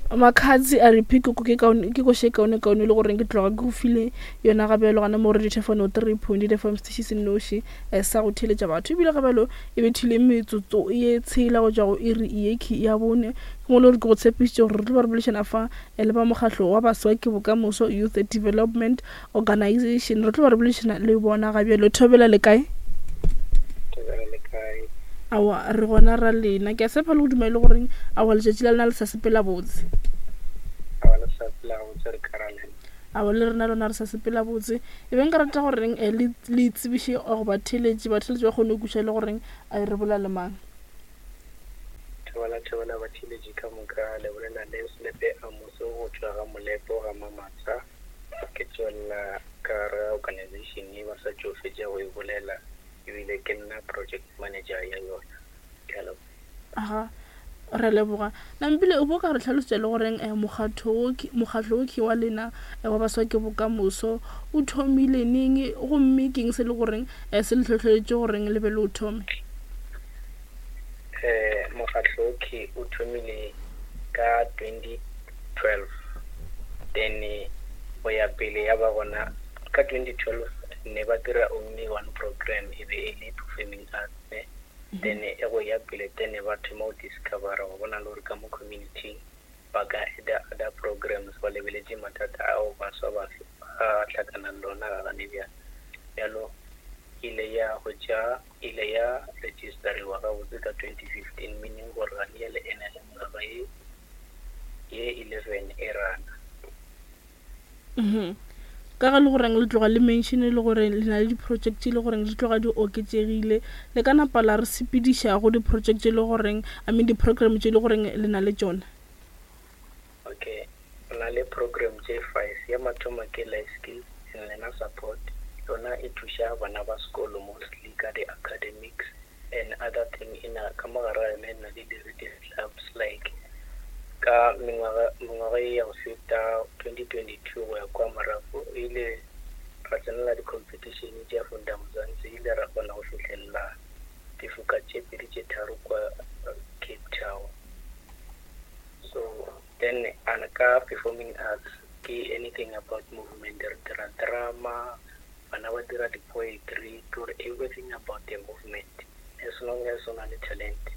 Makhadzi a re Pikoko ke kaone ke koše kaone kaone le goreng ke tloga ke go file yona ga bjalo gana mo radio thefano 3.8 FM station se nnoši eh, sa go theeletša batho ebile ga bjalo e bethile metsotso ye tshela go tšwa go iri ye ki ya bone ke mo le gore ke go tshepišitše gore re tlo ba re boledišana fa eh, le ba mokgahlo wa baswa ke bokamoso Youth Development Organization re tlo ba re boledišana le bona ga bjalo thobela le kae Thobela le kae? Aowa, re gona ra lena. Ke a tshepa le go duma e le goreng aowa letšatši la lena le sa sepela botse. Aowa le sa sepela gabotse re ka ra lena. Aowa le rena lona re sa sepela botse. E be nka rata goreng eh, le le itsebiše go batheeletši, batheeletši ba kgone go kweša e le goreng eh, re bolela le mang. Thobela thobela batheeletši ka moka, le bolela le Selepe Amos go tšwa ga Molepo ga Mamatsha. Ke tšwelela ka gare ga organization ye ba sa tšo fetša go e bolela. Ebile ke nna project manager ya yona. Ke a leboga. Aga, re a leboga. Nampile, o bo ka re hlalosetša le goreng eh, mokgatho wo ke, mokgatlo wo ke wa lena eh, wa Baswa ke Bokamoso o thomile neng gomme ke eng se le goreng eh, se le hlohleletše goreng le be le o thome? Eh, mokgatlo wo ke o thomile ka 2012 then go ya pele ya ba gona ka 2012 ne ba dira only one program e be e le performing arts ne then e go ya pele then ba thoma go discovera go bona le gore ka mo community ba ka add-a other programs ba lebeletše mathata ao baswa ba ba hlakanang le ona ga gane bjale. Bjalo ile ya hwetša ile ya registeriwa gabotse ka 2015 meaning gore gane bjale e na le mengwaga ye ye 11 e rana. Mhm. Ka ge le goreng le tloga le mention le gore le na le di-project tše le goreng di tloga di oketšegile, le ka napa la re sepediša go di-project tše le goreng, I mean di-program tše le goreng le na le tšona? Okay, re na le program tše five. Ya mathomo ke Life Skills and Learner Support, yona e thuša bana ba sekolo mostly ka di-academics and other thing. E na ka mo gare ga yona e na le di-reading clubs like ka mengwaga mengwaga ye ya go feta 2022 go ya kwa morago e ile ra tsenela di-competition tša Funda Mzansi, ile ra kgona go fihlelela difoka tše pedi tše tharo kwa Cape Town. So then and ka performing arts ke anything about movement, re dira drama, bana ba dira di-poetry, ke gore everything about the movement. As long as o na le talent,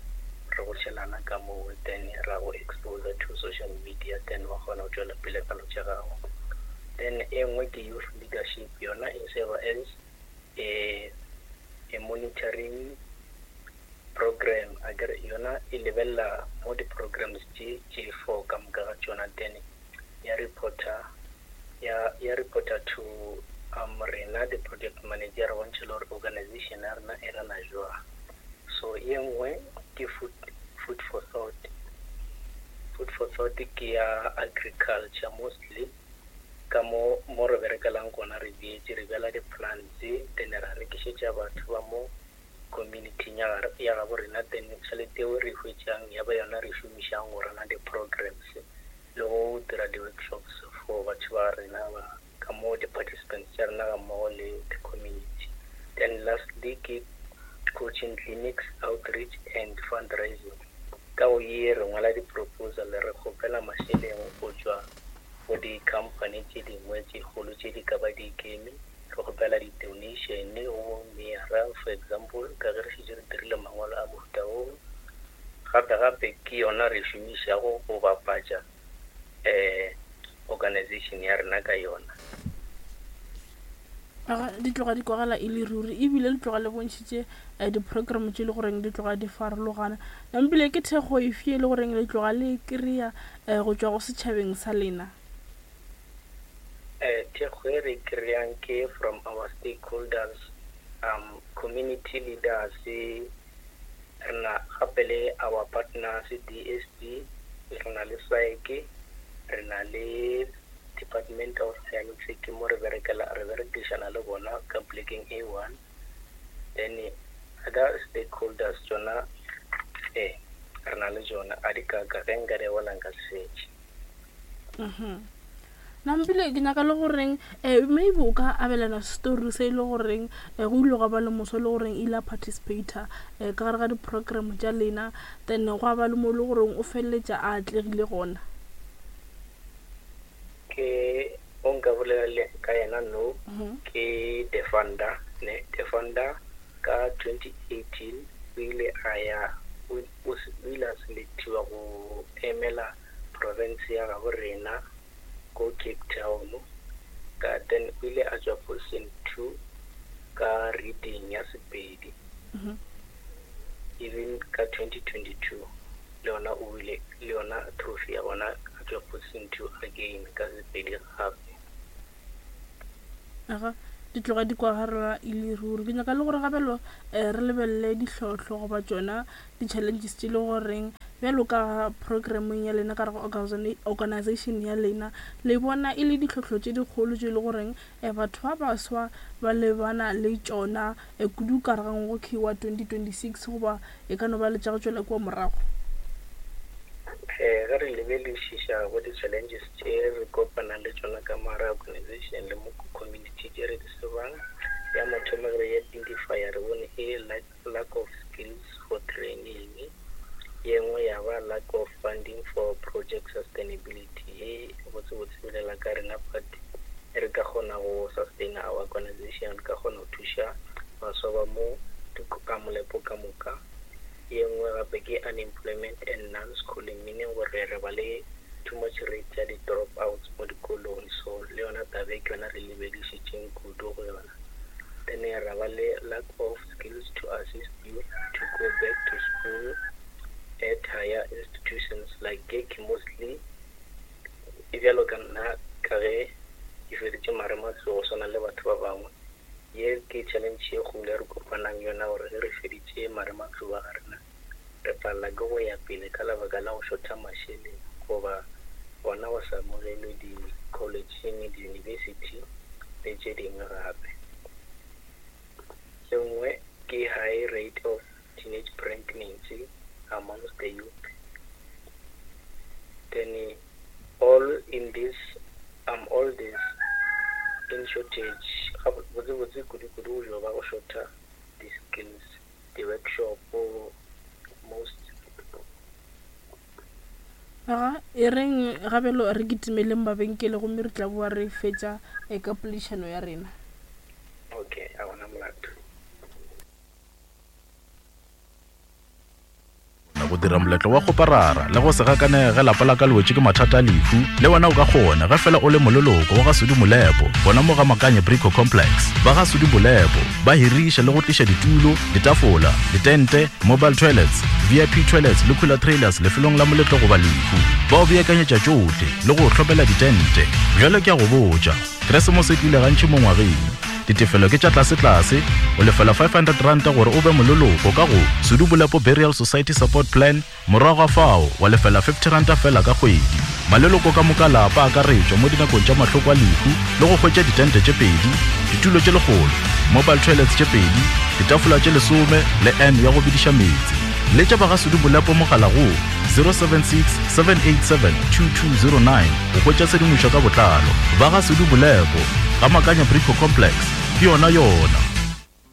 re go tšhelana ka moo then ra go exposer to social media then wa kgona go tšwela pele ka lo tša gago. Then e nngwe ke youth leadership, yona e serve as a, a monitoring program akere yona e lebelela mo di-programs tše tše four ka moka ga tšona then ya reporter ya ya reporter to um rena di-project manager re bontšhe le gore organization ya rena e rana jwang. So ye nngwe ke food, food for thought. Food for thought ke ya agriculture mostly ka mo mo re berekelang gona re bjetše re bjala di-plants then ra rekišetša batho ba mo community-ing ya ya gabo rena then tšhelete eo re e hwetšang ya ba yona re e šomišang go rana di-programs le go dira di-workshops for batho ba rena ba ka mo di-participants tša rena ga mmogo le the community. Then lastly ke coaching clinics, outreach and fundraising. Ka go ye re ngwala di-proposal re kgopela mašeleng go tšwa go di-company tše dingwe tše kgolo tše di ka ba di ikeme, re kgopela di-donation go meyara for example ka ge re šetše re dirile mangwalo a mohuta woo. Gape gape ke yona re šomišago go bapatša organization ya rena ka yona. Aga, di tloga di kwagala e le ruri ebile le tloga le bontšhitše eh, di-program tše e le goreng di tloga di farologana. Nampile ke thekgo efe e le goreng le tloga le e kry-a eh, go tšwa go setšhabeng sa lena? Eh, thekgo e re e kry-ang ke from our stakeholders, um, community leaders, Re na gape le our partners DSD, re na le SAEC, re na le Department of Health ke mo re berekela re berekišana le bona ka polekeng e one. Then other stakeholders tšona ee re na le tšona a di kaka ge nka di bala nka se fetše. Nampile ke nyaka le goreng um maybe o ka abelana story se e le goreng um go ile gwa ba le moswa e le goreng ile a participator um ka gare ga di-program tša lena, then gwa ba le mo e le goreng o feleletša a atlegile gona. nka bolela le ka yena no ke Defanda ne Defanda ka 2018 o ile a ya o o ile a selectiwa go emela province ya gabo rena ko Cape Town ka then o ile a tšwa position 2 ka reading ya Sepedi even ka 2022 le yona o wile le yona trophy ya gona a tšwa position 2 again ka Sepedi gape. Aga, di tloga di kwagarela e le ruri. Ke nyaka le gore gabelo um re lebelele dihlotlo goba tšona di-challenges tše le goreng bjalo ka programmeng ya lena ka re organization ya lena le bona e le ditlhohlo tše dikgolo tše e le goreng um batho ba baswa ba lebana le tšona um kudu ka re ga ngwaga wa 2026 goba e ka no ba le tša go tšwela kua morago. Ge re lebelešiša go di-challenges tše re kopanang le tšona ka mo gare organization le mo community tše re di tsebang, ya mathomo ge re identifya re bone e lack of skills for training, ye nngwe ya ba lack of funding for project sustainability. Ye botsebotse bolela ka rena but re ka kgona go sustain our organization, re ka kgona go thuša baswa ba mo ka molepo ka moka. Ye nngwe gape ke unemployment and non-schooling, meaning gore re ba le too much rate ya di-drop outs mo dikolong, so le yona taba e ke yona re lebedišitšeng kudu go yona. Then ra ba le lack of skills to assist you to go back to school at higher institutions like ke mostly e bjalo ka nna ka ge ke feditše marematlou go swana le batho ba bangwe. Ye ke challenge ye kgolo e re kopanang yona gore ge re feditše marematlou a ga rena re palela ke go ya pele ka lebaka la go šotha mašeleng goba gona go sa amogelwe di-collegeng, di-university le tše dingwe gape. E nngwe ke high rate of teenage pregnancy amongst the youth. Then all in this all this in shortage botsebotse kudu-kudu go jo ba go shorta di-skills, di-workshop most. Aga, e reng gabelo re kitimeleng mabenkele gomme re tla boa re fetša ka poledišano ya rena. Okay, a gona molato. Go dira moletlo wa kgoparara le go se gakanege ge lapa la ka le wetše ke mathata a lehu, le wena o ka kgona ge fela o le moleloko wa ga Sudi Molepo gona mo ga Makanye Brico Complex. Ba ga Sudi Molepo ba hiriša le go tliša ditulo, ditafola, ditente, mobile toilets, VIP toilets le cooler trailers lefelong la moletlo goba lehu. Ba o beakanyetša tšohle le go o hlopela ditente. Bjale ke a go botša, Keresemose e tlile gantši mo ngwageng. Ditefelo ke tša tlasetlase, o lefela R500 gore o be moleloko ka go Sudu Bolepo Burial Society Support Plan, morago ga fao wa lefela R50 fela ka kgwedi. Maleloko ka moka lapa a akaretšwa mo dinakong tša mahloko a lehu le go hwetša ditente tše pedi, ditulo tše lekgolo, mobile toilets tše pedi, ditafola tše lesome le urn ya go bediša meetse. Letša ba ga Sudu Bolepo mogala go 076 787 2209 go hwetša tshedimošo ka botlalo. Ba ga Sudu Bolepo, ga Makanya Brico Complex, ke yona yona.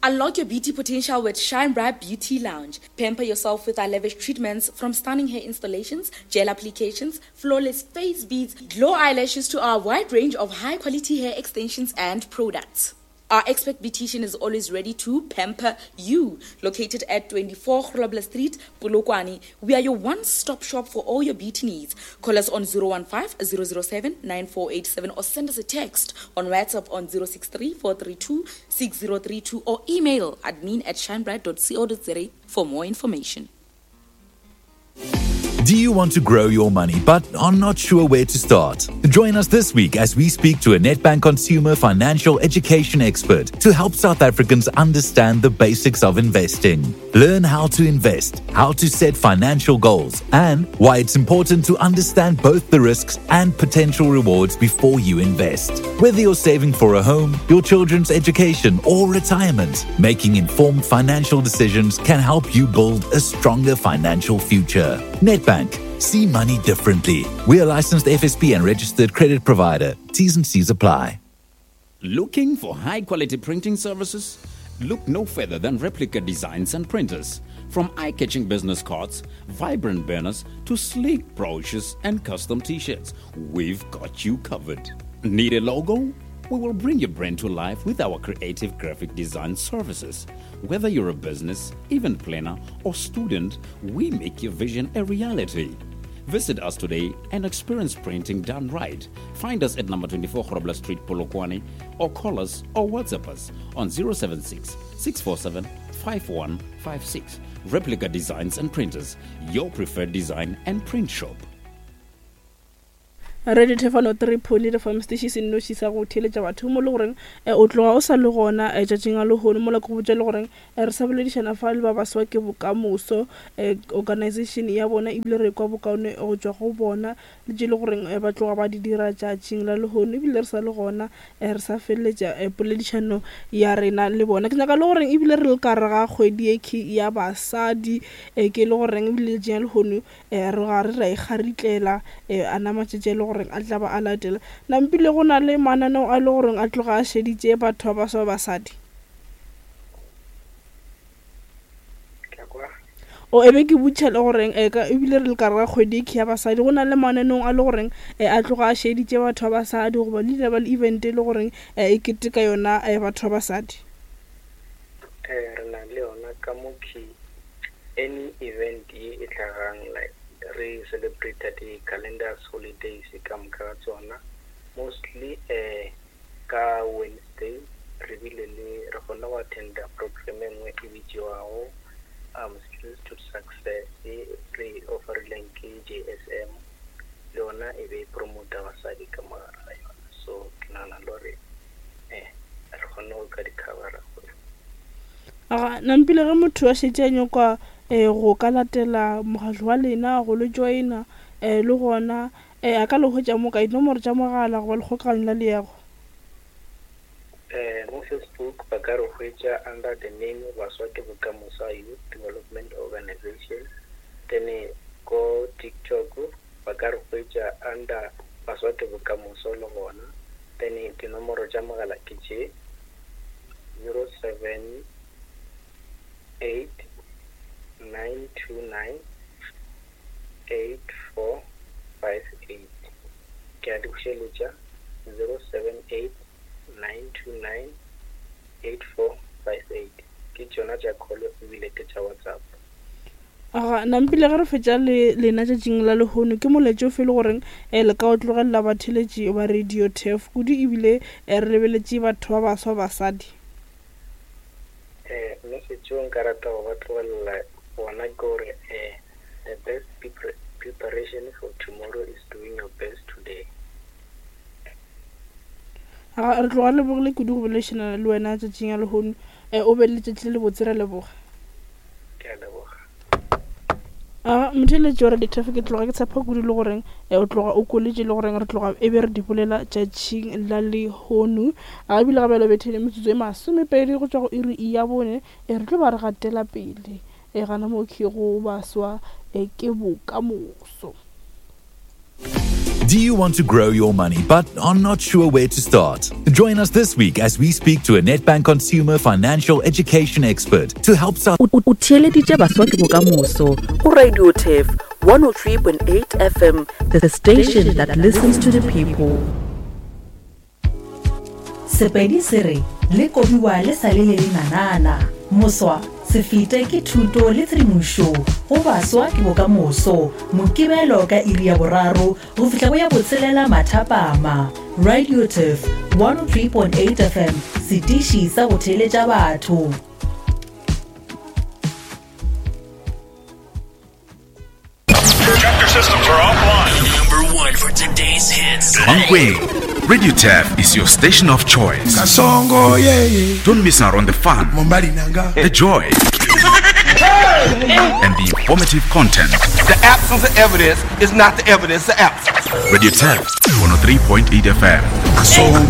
Unlock your beauty potential with Shine Bright Beauty Lounge. Pamper yourself with our lavish treatments from stunning hair installations, gel applications, flawless face beads, glow eyelashes to our wide range of high quality hair extensions and products. Our expert beautician is always ready to pamper you. Located at 24 Grobler Street, Polokwane, we are your one-stop shop for all your beauty needs. Call us on 015 007 9487 or send us a text on WhatsApp on 063 432 6032 or email admin at shinebright.co.za for more information. Do you want to grow your money but are not sure where to start? Join us this week as we speak to a Nedbank consumer financial education expert to help South Africans understand the basics of investing. Learn how to invest, how to set financial goals, and why it's important to understand both the risks and potential rewards before you invest. Whether you're saving for a home, your children's education, or retirement, making informed financial decisions can help you build a stronger financial future. Nedbank, see money differently. We are licensed FSP and registered credit provider. T's and C's apply. Looking for high quality printing services? Look no further than Replica Designs and Printers. From eye catching business cards, vibrant banners, to sleek brochures and custom t shirts, we've got you covered. Need a logo? We will bring your brand to life with our creative graphic design services. Whether you're a business, event planner, or student, we make your vision a reality. Visit us today and experience printing done right. Find us at number 24 Grobler Street, Polokwane, or call us or WhatsApp us on 076 647 5156. Replica Designs and Printers, your preferred design and print shop. Radio Thefano 3.8 FM station se nnoši sa go theeletša batho mo le goreng eh, o tloga o sa le gona eh, tšatšing a lehono mola ke go botša le goreng eh, re sa boledišana fa le ba baswa ke bokamoso organization ya bona ebile re kwa bokaone go tšwa go bona le tše le goreng ba tloga ba di dira tšatšing la lehono ebile re sa le gona re sa feleletša poledišano ya rena le bona. Ke nyaka le goreng ebile re le ka re ga kgwedi e ya basadi ke le goreng ebile letšatšing la lehono Re gare ra ikgaritlela a na matšatši a e le goreng a tla ba a latela. Nampile go na le mananeo a e le goreng a tloga a šeditše batho ba baswa ba basadi? O e be ke botšiša le goreng ebile re le ka re ga kgwedi e ya basadi go na le mananeong a le goreng a tloga a šeditše batho ba basadi goba le ile ba le event e le goreng e keteka yona batho ba basadi? Re na le yona ka mo key Any event ye e hlagang like re celebrate di calendars holidays ka moka ga tsona mostly ka Wednesday re bile le re kgonne go attenda program e nngwe e bitšiwago Skills to Success ye re e offerileng ke J_S_M le yona e be e promota basadi ka mo gare ga yona so ke nagana le gore re kgonne go ka di covera. Aga, nampile ge motho a šetše a nyakwa go ka latela mokgatlo wa lena, go le joina, le gona a ka le hwetša mo kae? Dinomoro tša mogala goba lekgokaganyo la leago? Mo Facebook ba ka re hwetša under the name Baswa ke Bokamoso Youth Development Organisation, then ko TikTok ba ka re hwetša under Baswa ke Bokamoso le gona, then dinomoro tša mogala ke tše. 078 929 8458. Ke a di bušeletša, 078 929 8458. Ke tšona tša call ebile ke tša WhatsApp. Aga, nampile ge re fetša le lena tšatšing la lehono, ke molaetša ofe e le goreng eh, le ka o tlogelela batheeletši ba Radio Turf, kudu ebile eh, re lebeletše batho ba baswa basadi? Eh, message o nka rata go ba tlogelela wona ke gore eh, the best preparation for tomorrow is doing your best today. Aga, re tloga re lebogile kudu go boledišana le wena tšatšing ya lehono. Eh, o be le letšatši le lebotse, re a leboga. Ke a leboga. A motheeletši wa Radio Traffic, ke tloga ke tshepa kudu le goreng eh, o tloga o koletše le goreng re tloga e be re di bolela tšatšing la lehono. A ebile ga bjalo bethele metsotso e masomepedi go tšwa go iri ya bone, e re tlo ba re gatela pele e gana mo ke go baswa e ke bokamoso. Do you want to grow your money but are not sure where to start? Join us this week as we speak to a Nedbank consumer financial education expert to help South O theeleditše Baswa ke Bokamoso go Radio Turf 103.8 FM, the station that listens to the people. Sepedi se re, Le kobiwa le sa le le lenanana. Moswa, se fete ke thuto le tshedimošo go baswa ke bokamoso. Mokibelo ka iri ya boraro go fihla go ya botshelela mathapama. Radio Turf 103.8 FM, setiši sa go theeletša batho. Chapter systems are offline. Number one for today's hits. Mankweng, Radio Turf is your station of choice. Kasongo, yeah, yeah. Don't miss out on the fun, the joy, and the informative content. The absence of evidence is not the evidence of absence. Radio Turf, 103.8 FM. Kasongo.